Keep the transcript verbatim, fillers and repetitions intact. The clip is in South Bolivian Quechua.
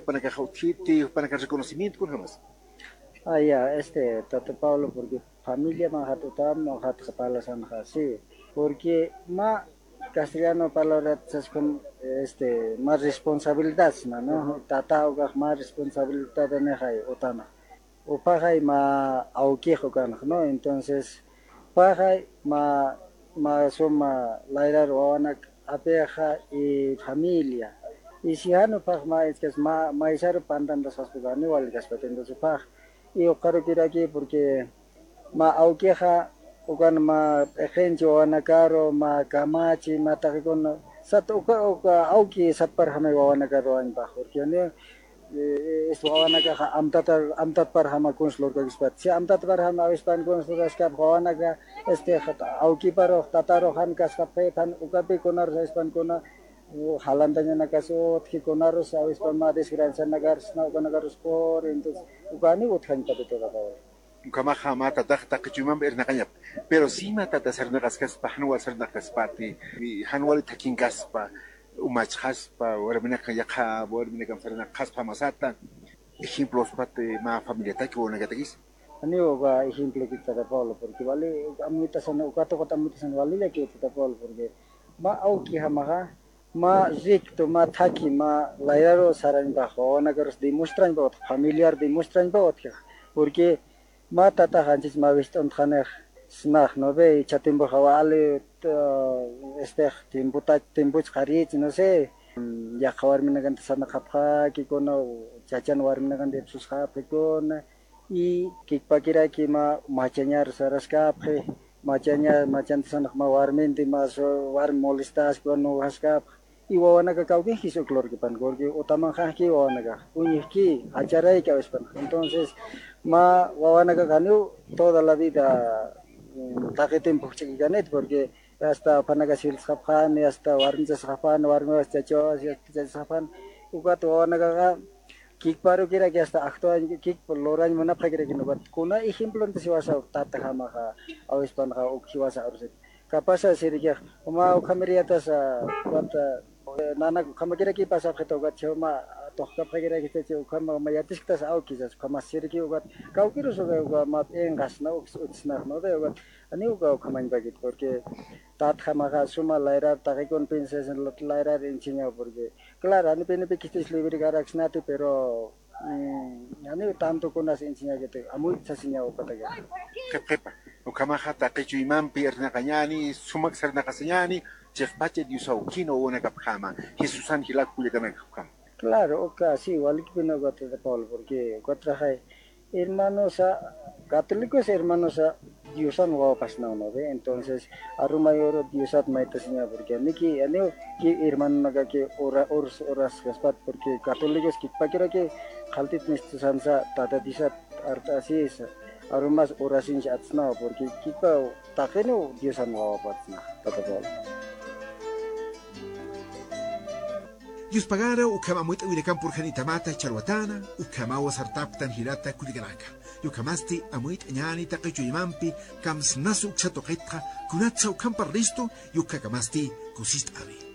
Panaka jautiti, panaka reconocimiento con jamás. Ah, ya, este, Tata Pablo, porque familia mahat utam mahat palasan sí, porque ma castellano palabra con este más responsabilidad, ¿no? Uh -huh. Tata o más responsabilidad de otana. O pajay ma auquijo kanaj, ¿no? Entonces, pajay ma ma suma lairar wawanak apeja y familia. Y si hanu paj ma es que ma maisaro pandan das hospitales igual que entonces paj y o quiero aquí porque ma auqueja ukan ma ejenchi wawanakaro ma kamachi ma taqikuna sat uka uka auki satparjamay wawanakaro añpaj porque ne es wawanakaqa amtata amtatparjama kunslurkakispat si amtatparjama awispan kunsluraskap wawanaka este aukiparo tataro han kasqapqi han ukapi kunarus awispankuna halantañana kasu utjikunarus awispan ma desgracianakarus na ukanakarus por entonces ukani utjañpati todavía. Kamaja mata taq taqichumam ernaqañap pero si mata tasarnaqasqaspa hanwal sarnaqaspati hanwal takinkaspa umachqaspa warminaqa yaqa warminaqa sarnaqaspa masata ejemplos pate ma familia taki wanakatakis. Ani uga ejemplo que tata Pablo porque vale amitasan ukato kota amitasan vale que tata Pablo porque ma auki hamaja ma ricto ma thaki ma layraro saranpa wawanakaros demostranpa familiar demostranpa porque ma tata hanchis ma viston thanej snaj no ve chatimbo jawale este timbuta timbuch qarich no sé yaqa warminakanta sanaqapqa kikuna chachan warminakanta ipsusqapqikuna y kikpakiraki ma machañar saraskapqi machaña machanta sanaq ma warminti ma warmi molestaspa nuqasqapq y wawanaka kawkinki uklurkipan porque utaman hanki wawanaka uñiqki acharayka awispan entonces ma wawanaka kanu toda la vida taqi timpu ch'ikanit porque hasta panaka silsqapqani hasta warmichasqapani warmiwas chachawas chachasqapani ukata wawanakaqa kikparu kiraki hasta actuañ kikpa lorañ munapqa kiraki nuqata kuna ejemplo siwasa tata hamaqa awispanqa uk siwasa arusit kapasa sirikiq uma ukhamiriatasa wata nana khamakiraki pasapqita ukat chuma toqkapqa kiraki chachi ukhama mayatisktas awkisas khama siriki ukat kawkirus uka uka ma p'inqasna utsnaq no de ukat ani uka ukhamañpakit porque tat hamaqa suma layrar taqikun piensas layrar enseñado porque claro ani pinipi kistis libre karaksnati pero ani tanto kunas enseña que te amuy sasiña ukataka qhipa ukamaja taqichuymanpi ernaqañani sumaq sarnaqasañani chaqpacha Dios aukino wanakapjama Jesús Ángel kullakanakapjama. Claro, oka sí, igual que no de Pablo porque cuatraje hermanos a católicos hermanos a Diosan wapas no no ve entonces arumayor Diosat maita seña porque niki ani ki hermano naga que ora ors oras gaspat porque católicos ki pakira que khaltit nistusansa tata disat arta así es arumas orasin atsna porque kipa taqeno Diosan wapatna tata Pablo. Dios pagara ukamamuita wilakan purjanitamata chalwatana ukamawa sartaptan hirata kuliganaka yukamasti amuit ñani taqichuymanpi kamsnasu uksatoqitqa kunatsa ukampa risto yukakamasti kusist avi.